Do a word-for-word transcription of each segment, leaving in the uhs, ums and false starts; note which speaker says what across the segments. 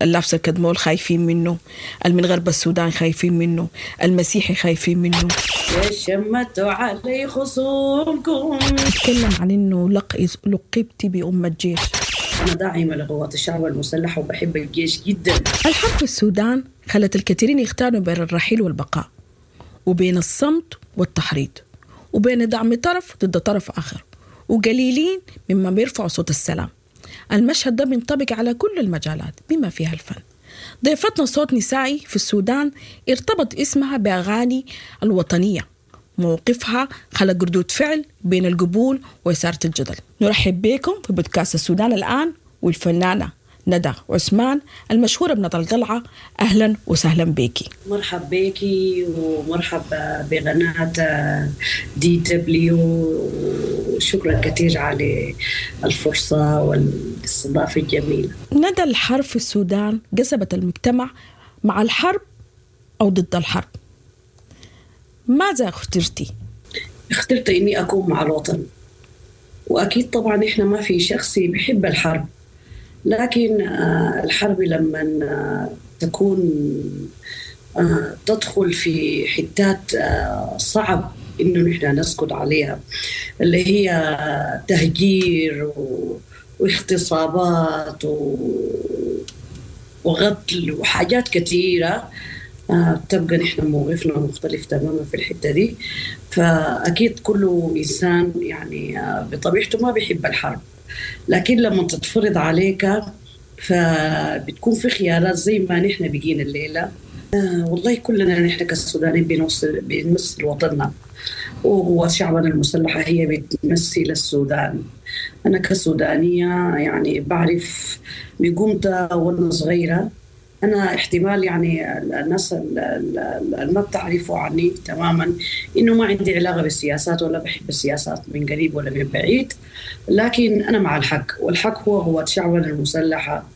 Speaker 1: اللابس الكدمول خايفين منه، المن غرب السودان خايفين منه، المسيحي خايفين منه.
Speaker 2: شمتوا علي خصومكم.
Speaker 1: اتكلم عن انه لق... لقبتي بأم الجيش.
Speaker 2: أنا داعمة لقوات الشعب المسلحة وبحب الجيش جدا.
Speaker 1: الحرب في السودان خلت الكثيرين يختاروا بين الرحيل والبقاء، وبين الصمت والتحريض، وبين دعم طرف ضد طرف آخر، وقليلين مما بيرفعوا صوت السلام. المشهد ده بينطبق على كل المجالات بما فيها الفن. ضيفتنا صوت نسائي في السودان ارتبط اسمها بأغاني الوطنية، موقفها خلق ردود فعل بين القبول وإثارة الجدل. نرحب بكم في بودكاست السودان الآن والفنانة ندى عثمان المشهورة بندى القلعة. أهلا وسهلا بيكي.
Speaker 2: مرحب بيكي ومرحب بقناة دي دبليو، وشكرا كثير على الفرصة والاستضافة الجميلة.
Speaker 1: ندى، الحرب في السودان قسمت المجتمع مع الحرب أو ضد الحرب، ماذا اخترتي؟
Speaker 2: اخترت إني أكون مع الوطن، وأكيد طبعا إحنا ما في شخص بيحب الحرب، لكن الحرب لما تكون تدخل في حتات صعب إنه نحن نسكت عليها، اللي هي تهجير واغتصابات وقتل وحاجات كثيرة، تبقى نحن موقفنا مختلف تماما في الحتة دي. فأكيد كل إنسان يعني بطبيعته ما بيحب الحرب، لكن لما تتفرض عليك فبتكون في خيارات زي ما نحن بقينا الليلة. آه والله كلنا نحن كالسودانيين بنوصل بنمثل وطننا، وهو شعبنا المسلحة هي بتمثل السودان. أنا كسودانية يعني بعرف من قمت وأنا صغيرة، أنا احتمال يعني الناس اللي ما بتعرفوا عني تماما إنه ما عندي علاقة بالسياسات ولا بحب السياسات من قريب ولا من بعيد، لكن أنا مع الحق، والحق هو هو شعبنا المسلحة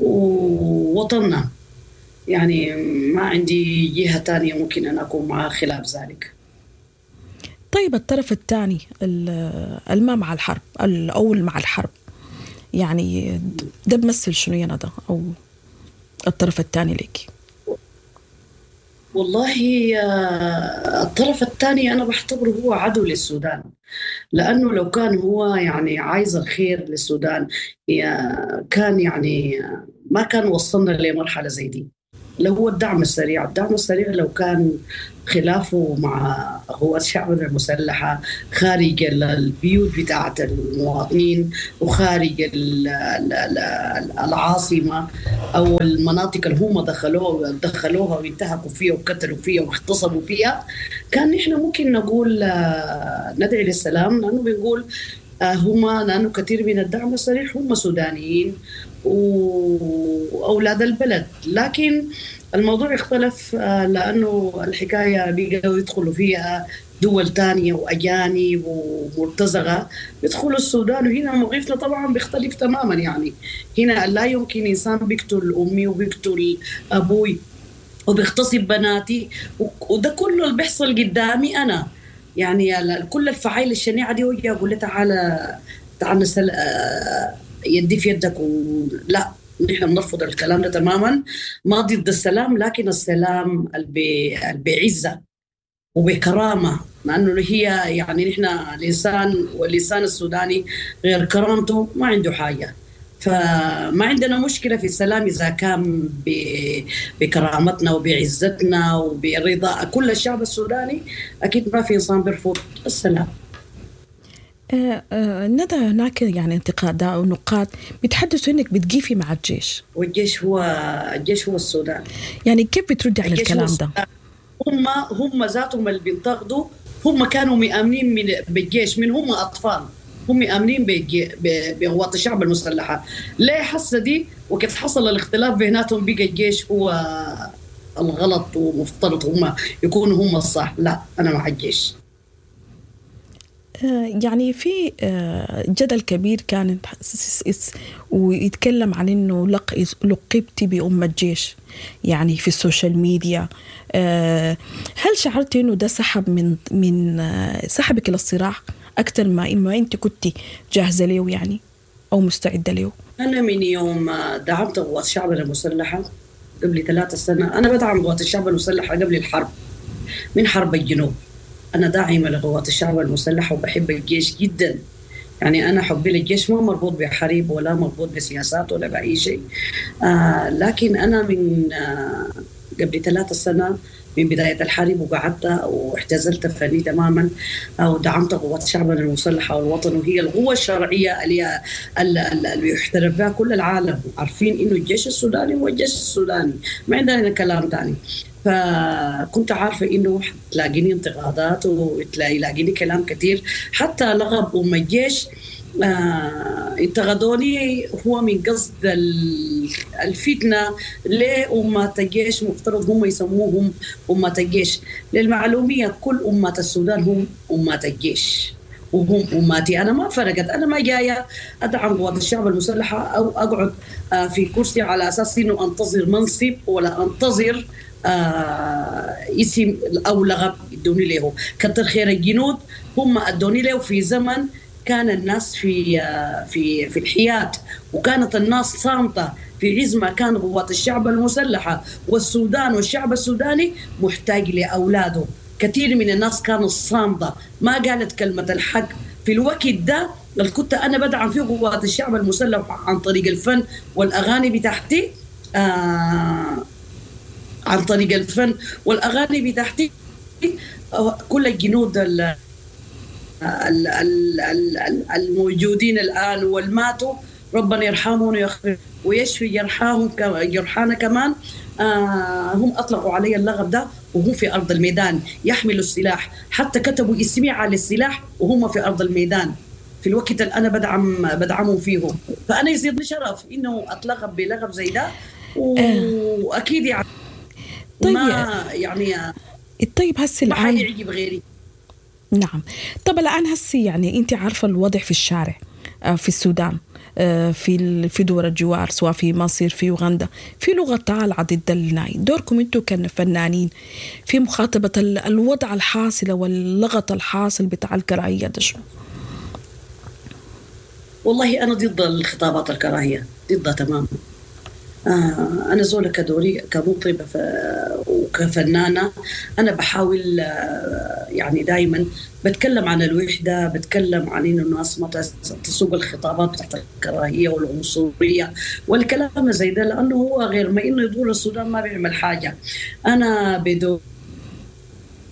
Speaker 2: ووطننا، يعني ما عندي جهة تانية ممكن أن أكون معها خلاف ذلك.
Speaker 1: طيب الطرف الثاني الما مع الحرب أو مع الحرب، يعني ده بمثل شنو يا ندى أو الطرف الثاني لك؟
Speaker 2: والله الطرف الثاني أنا بعتبره هو عدو للسودان، لأنه لو كان هو يعني عايز الخير للسودان كان يعني ما كان وصلنا لمرحلة زي دي. لو هو الدعم السريع، الدعم السريع لو كان خلافه مع قوات شعبنا المسلحة خارج البيوت بتاعة المواطنين وخارج العاصمة أو المناطق اللي هم دخلوها دخلوها وانتهكوا فيها وقتلوا فيها واغتصبوا فيها، كان نحن ممكن نقول ندعي للسلام، لأنه بنقول هم لأنه كثير من الدعم السريع هم سودانيين وأولاد البلد. لكن الموضوع اختلف لأنه الحكاية بقوا يدخلوا فيها دول تانية وأجانب ومرتزقة بيدخلوا السودان، وهنا موقفنا طبعا بيختلف تماما. يعني هنا لا يمكن إنسان بيقتل أمي وبيقتل أبوي وبيغتصب بناتي، وده كله اللي بيحصل قدامي أنا، يعني كل الفعايل الشنيعة دي ويجي أقول له تعالى تعال نسل يدي في يدك، ولا نحن بنرفض الكلام ده تماما. ما ضد السلام، لكن السلام بعزة وبكرامة، لأنه هي يعني نحن الإنسان والإنسان السوداني غير كرامته ما عنده حاجة، فما عندنا مشكلة في السلام إذا كان بكرامتنا وبعزتنا وبرضا كل الشعب السوداني. أكيد ما في إنسان بيرفض السلام.
Speaker 1: آه آه ندى، هناك يعني انتقادات أو نقاد بيتحدثوا إنك بتقيفي مع الجيش،
Speaker 2: والجيش هو الجيش هو السودان.
Speaker 1: يعني كيف بتردي على الكلام ده؟
Speaker 2: هم هم ذاتهم اللي بينتقدوا هم كانوا مآمنين من بالجيش من هم أطفال، هم مآمنين بقوات الشعب المسلحة. ليه حاسة دي؟ وقت حصل الاختلاف بيناتهم بقى الجيش هو الغلط ومفترض هم يكونوا هم الصح. لا، أنا مع الجيش.
Speaker 1: يعني في جدل كبير كان ويتكلم عن إنه لقبتي بأم الجيش، يعني في ال social media. هل شعرتي إنه ده سحب من من سحبك للصراع أكثر ما إما أنت كنت جاهزة له يعني أو مستعدة له؟
Speaker 2: أنا من يوم دعمت قوات الشعب المسلحة قبل ثلاثة سنة، أنا بدعم قوات الشعب المسلحة قبل الحرب، من حرب الجنوب أنا داعمة لقوات الشعب المسلحة وبحب الجيش جدا. يعني أنا حبي للجيش ما مربوط بحرب ولا مربوط بسياسات ولا بأي شيء، آه لكن أنا من آه قبل ثلاثة سنة من بداية الحرب وقعدت واحتزلت فني تماما ودعمت قوات شعبنا المسلحة والوطن، وهي القوة الشرعية اللي اللي يحترف بها كل العالم، عارفين إنه الجيش السوداني هو الجيش السوداني، ما عندنا كلام ثاني. فكنت عارفة إنه تلاقيني انتقادات وتلاقيني كلام كثير، حتى لغب أم الجيش آه انتقدوني هو من قصد الفتنة. ليه أمة الجيش مفترض هم يسموهم أمة الجيش؟ للمعلومية كل أمة السودان هم أمة الجيش وهم أماتي. أنا ما فرقت، أنا ما جاية أدعم قوات الشعب المسلحة أو أقعد آه في كرسي على أساس إنه أنتظر منصب ولا أنتظر آه اسم أو لغب يدوني له. كتر خير الجنود هم أدوني له في زمن كان الناس في في في الحياد، وكانت الناس صامتة في عز ما كان قوات الشعب المسلحة والسودان والشعب السوداني محتاج لأولاده. كثير من الناس كانوا صامتة ما قالت كلمة الحق في الوقت ده اللي كنت أنا بدعم فيه قوات الشعب المسلح عن طريق الفن والأغاني بتاعتي، آه عن طريق الفن والأغاني بتاعتي كل الجنود ال الموجودين الآن والماتوا ربنا يرحمهم ويشفي جرحاهم جرحانا كمان، آه هم أطلقوا علي اللغب ده وهم في أرض الميدان يحملوا السلاح، حتى كتبوا اسمي على السلاح وهم في أرض الميدان في الوقت اللي أنا بدعم بدعمهم فيه. فأنا يزيدني شرف إنه أتلغب بلغب زي ده، وأكيد يعني
Speaker 1: طيب
Speaker 2: ما يعني
Speaker 1: طيب هسه
Speaker 2: ما
Speaker 1: الآن
Speaker 2: حيعجب غيري.
Speaker 1: نعم. طب الآن هسي يعني أنت عارفة الوضع في الشارع في السودان، في في دول الجوار، سواء في مصر في أوغندا، في لغة طالعة ضد الناي. دوركم أنتم كفنانين في مخاطبة الوضع الحاصل واللغط الحاصل بتاع الكراهية ده شنو؟
Speaker 2: والله أنا ضد الخطابات الكراهية، ضدها تماما. آه أنا زولة كدوري كمطربة وكفنانة أنا بحاول آه يعني دايما بتكلم عن الوحدة، بتكلم عن إنه الناس ما تسوق الخطابات بتاعت الكراهية والعنصرية والكلام زي ده، لأنه هو غير ما إنه يدور السودان ما بيعمل حاجة. أنا بدور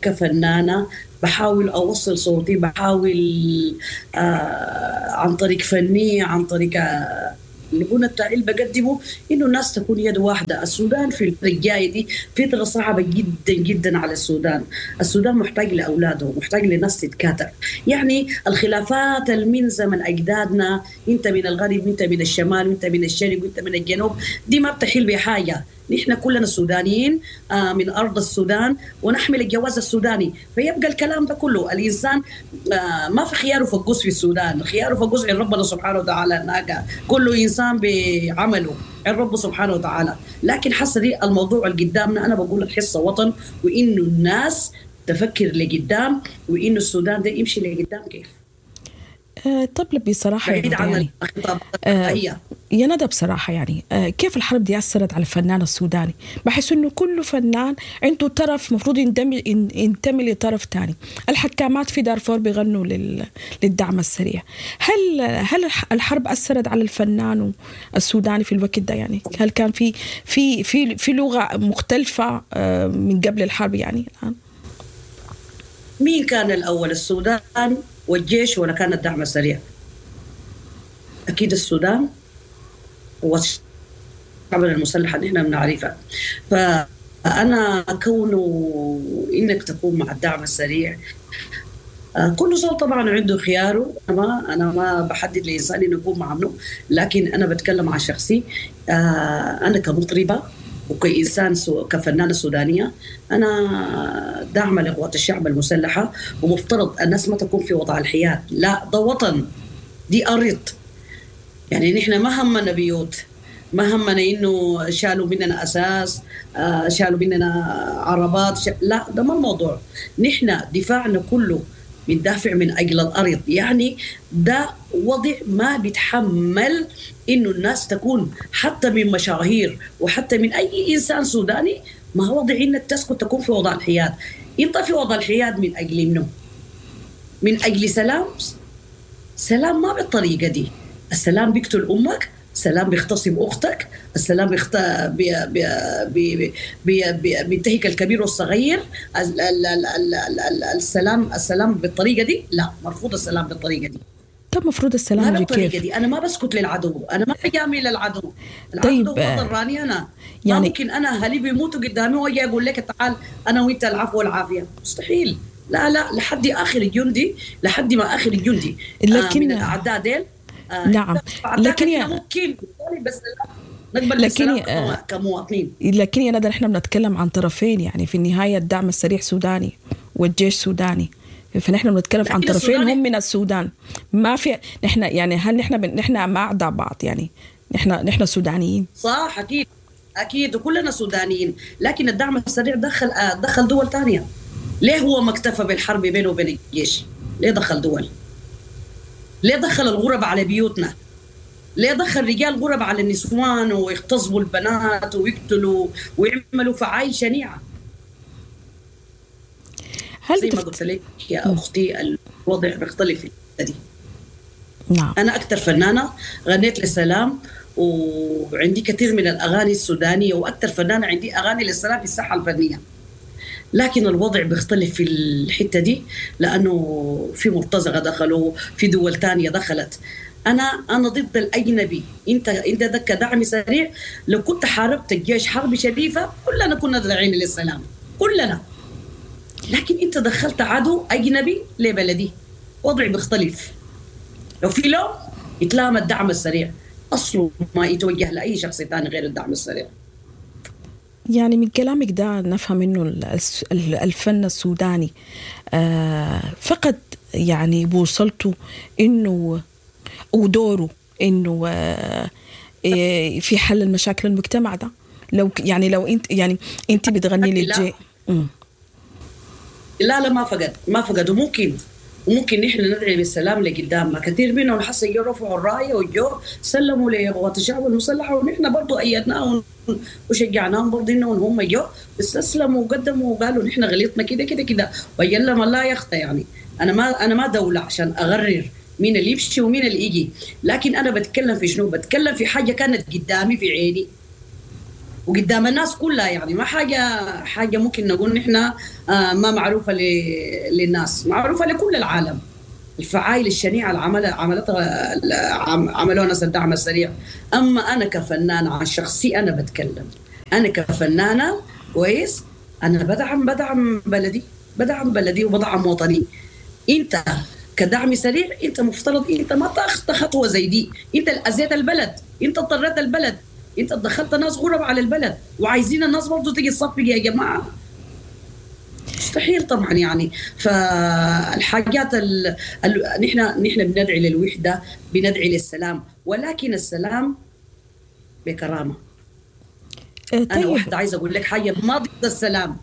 Speaker 2: كفنانة بحاول أوصل صوتي، بحاول آه عن طريق فني، عن طريق آه الغنى بتاعي اللي بقدمه، انه الناس تكون يد واحدة. السودان في الفترة الجاية دي فترة صعبة جدا جدا على السودان. السودان محتاج لاولاده، محتاج لناس تتكاتف. يعني الخلافات من زمن اجدادنا، انت من الغرب وانت من الشمال وانت من الشرق وانت من الجنوب، دي ما بتحل بحاجة. نحن كلنا سودانيين من أرض السودان ونحمل الجواز السوداني، فيبقى الكلام ده كله الإنسان ما في خياره فقوس في السودان، خياره فقوس عند ربنا سبحانه وتعالى، هناك كل إنسان بعمله عند ربه سبحانه وتعالى. لكن حاسة دي الموضوع اللي قدامنا، أنا بقول الحصة وطن، وإنه الناس تفكر لقدام، وإنه السودان ده يمشي لقدام كيف.
Speaker 1: أه طب بصراحة
Speaker 2: بعيد عن
Speaker 1: يعني
Speaker 2: الخطاب.
Speaker 1: يا ندى بصراحة يعني كيف الحرب دي أثرت على الفنان السوداني؟ بحس إنه كل فنان عنده طرف مفروض ينتمي ينتمي لطرف تاني. الحكامات في دارفور بيغنوا لل... للدعم السريع. هل هل الحرب أثرت على الفنان السوداني في الوقت ده؟ يعني هل كان في في في في لغة مختلفة من قبل الحرب يعني الآن؟
Speaker 2: مين كان الأول، السودان والجيش ولا كان الدعم السريع؟ أكيد السودان والشعب المسلح اللي احنا بنعرفها. فأنا كونه إنك تكون مع الدعم السريع، كل زول طبعا عنده خياره، أنا أنا ما بحدد لإنسان إنه يكون مع منه، لكن أنا بتكلم عن شخصي. أنا كمطربة وكإنسان سو... كفنانة سودانية أنا داعمة لقوات الشعب المسلحة، ومفترض الناس ما تكون في وضع الحياد. لا، ده وطن، دي أرض. يعني نحن ما همنا بيوت، ما همنا إنه شالوا مننا أساس، آه شالوا مننا عربات، ش... لا، ده ما الموضوع. نحن دفاعنا كله بندافع من اجل الارض. يعني ده وضع ما بيتحمل انه الناس تكون حتى من مشاهير وحتى من اي انسان سوداني، ما هو وضع انك تسكت تكون في وضع الحياد. انت في وضع الحياد من اجل منه؟ من اجل سلام؟ سلام ما بالطريقة دي. السلام بيقتل امك، السلام بيغتصب اختك، السلام بيخت... بي... بي... بي... بي... بي... بينتهك الكبير والصغير. ال... ال... ال... ال... ال... السلام السلام بالطريقة دي لا، مرفوض السلام بالطريقة دي.
Speaker 1: طب مفروض السلام
Speaker 2: ما
Speaker 1: يجي
Speaker 2: بالطريقة
Speaker 1: كيف؟
Speaker 2: دي. انا ما بسكت للعدو، انا ما بجامل العدو. العدو
Speaker 1: طيب،
Speaker 2: هو
Speaker 1: آه،
Speaker 2: ضراني انا،
Speaker 1: يعني
Speaker 2: ما ممكن انا اهلي بيموتوا قدامي واجي اقول لك تعال انا وانت العفو والعافية، مستحيل. لا لا، لحد اخر الجندي، لحد ما اخر الجندي
Speaker 1: لكن
Speaker 2: آه من الاعداء ديل. آه
Speaker 1: نعم، لكن يا
Speaker 2: ممكن بس نقبل
Speaker 1: لكن
Speaker 2: بالسلام كمواطنين.
Speaker 1: لكن يا ندى نحن بنتكلم عن طرفين، يعني في النهاية الدعم السريع سوداني والجيش سوداني، فنحن بنتكلم عن طرفين هم من السودان. ما في نحن يعني هل نحن بن... نحن ما اعداء بعض، يعني نحن نحن سودانيين.
Speaker 2: صح، اكيد اكيد وكلنا سودانيين، لكن الدعم السريع دخل دخل دول ثانية. ليه هو ما اكتفى بالحرب بينه وبين الجيش؟ ليه دخل دول؟ ليه دخل الغرب على بيوتنا؟ ليه دخل رجال غرب على النسوان ويغتصبوا البنات ويقتلوا ويعملوا فعايل شنيعه؟
Speaker 1: هل
Speaker 2: زي ما قلت لك يا اختي الوضع بيختلف في دي.
Speaker 1: نعم.
Speaker 2: انا اكثر فنانة غنيت للسلام، وعندي كثير من الاغاني السودانية، واكثر فنانة عندي اغاني للسلام في الساحة الفنية. لكن الوضع بيختلف في الحتة دي، لانه في مرتزقة دخلوا، في دول ثانية دخلت. انا انا ضد الاجنبي. انت انت دك دعم سريع، لو كنت حاربت الجيش حرب شريفه كلنا كنا داعين للسلام، كلنا. لكن انت دخلت عدو اجنبي لبلدي، وضعي بيختلف. لو في لوم يتلام الدعم السريع، اصله ما يتوجه لاي شخص ثاني غير الدعم السريع.
Speaker 1: يعني من كلامك ده نفهم انه الفن السوداني فقد يعني بوصلته انه ودوره انه في حل المشاكل المجتمع ده. لو يعني لو انت يعني انت بتغني للجي
Speaker 2: لا لا ما فقد ما فقد. وممكن وممكن نحن ندعي بالسلام لقدام. ما كثير منهم حسوا جو رفعوا الراية وجو سلموا لقوات الشعب المسلحة، ونحن برضو ايدناهم وشجعناهم برضو انهم هم جو استسلموا وقدموا وقالوا نحن غلطنا كده كده كده، ويلا ما لا يخطى. يعني انا ما انا ما دولة عشان اغرر مين اللي يمشي ومين اللي يجي، لكن انا بتكلم في شنو؟ بتكلم في حاجة كانت قدامي في عيني وقدام الناس كلها، يعني ما حاجة حاجة ممكن نقول نحن ما معروفة للناس، معروفة لكل العالم. الفعايل الشنيعة اللي عملها عملتها عملوها ناس الدعم السريع. اما انا كفنانه عن شخصي انا بتكلم، انا كفنانه كويس، انا بدعم بدعم بلدي، بدعم بلدي وبدعم وطني. انت كدعم سريع انت مفترض انت ما تاخذ خطوة زي دي، انت اللي اذيت البلد، انت اضطريت البلد، انت دخلت ناس غرب على البلد، وعايزين الناس برضه تيجي تصفق يا جماعة. مستحيل طبعا. يعني فالحاجات ال... ال... نحن نحن بندعي للوحدة، بندعي للسلام، ولكن السلام بكرامة.
Speaker 1: طيب.
Speaker 2: انا واحدة عايزه اقول لك حاجة، ما ضد السلام،